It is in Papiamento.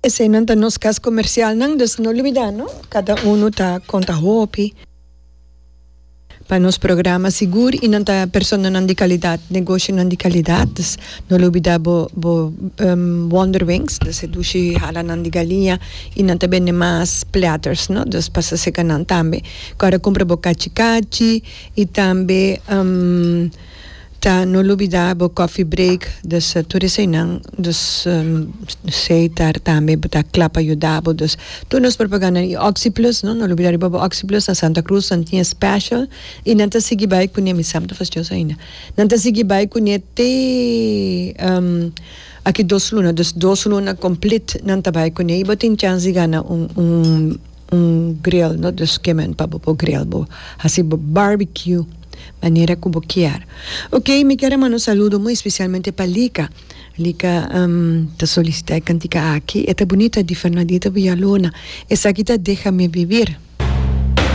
Eseinan ta nos kas komersialnan, dus no lubidá no, kada unu ta konta hopi pa nos programa sigur i nan ta personanan di kalidat, negoshonan di kalidat, dus no lubidá bo bo Wonder Wings, dus e dushi halanan di galiña i nan ta bende mas platters no, dus pasa seka nan tambe. Kòrda kumpra bo kachi kachi i tambe. Ta no lubida bo coffee break dus tur eseinan dus Seitar tambe bo ta kla pa yuda bo dus tur nos propaganda y Oxi Plus no no lubida riba bo Oxi Plus na Santa Cruz nan tin e special y nan ta sigui bai cune mi sa mi ta fastioso ainda nan ta sigui bai cune te aki dos luna dus dos luna complete nan ta bai cune y bo tin chance di gana un un Un grill no dus kemen pa bo por grill bo hasi bo barbecue manera ku bo kier. Ok mi kier a manda un saludo muy especialmente pa Lika. Lika ta solicita e kantika aki e ta bunita di Fernandito Villalona esaki ta Déjame vivir.